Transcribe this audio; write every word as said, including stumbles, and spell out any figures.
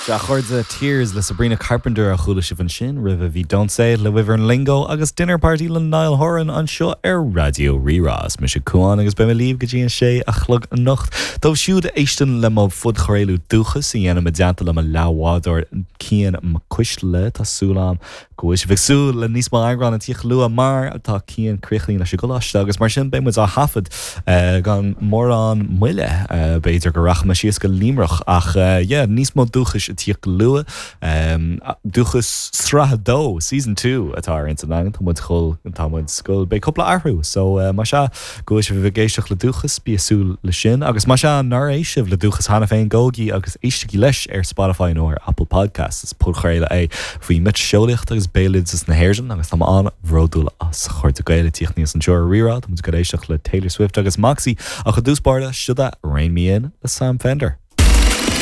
Sea, a chairde, Tears le Sabrina Carpenter a chuala sibh ansin, roimhe bhí Don't Say It le Wyvern Lingo agus Dinner Party le Niall Horan anseo ar Raidió Rí-Rá. Is mise Cuán agus beidh mé libh go dtí an sé a chlog anocht. Dóibh siúd a éisteann le mo phodchraoladh Dúchas a dhéanaim i dteannta le mo leathbhádóir Cian Mac Cuisle, tá súil agam go bhfuil sibh ag súil le níos mó eagrán ag tíocht luath mar tá Cian críochnaithe leis an gcoláiste agus mar sin beidh muid á thaifead gan mórán moille. B'fhéidir go rachaidh mé síos go Luimneach ach yeah, níos mó Dúchais ag tíocht go luath. Dúchas sraith a dó, season two, atá ar intinn againn, tá muid chul, tá muid scoil, beidh cúpla athrú so más ea go bhfuil sibh ag éisteacht le Dúchas, bí ag súil le sin agus más ea nár éist sibh le Dúchas cheana féin, gabhaigí agus éistigí leis ar Spotify nó ar Apple Podcasts. Is podchraoladh é faoi mhiotaseolaíocht agus béaloideas na hÉireann agus tá mé an-bhródúil as, a chairde Gael ag tíocht aníos anseo ar Rí-Rá, tá muid ag éisteacht le Taylor Swift agus Moxie ach i dtús báire, seo é Rein Me In le Sam Fender.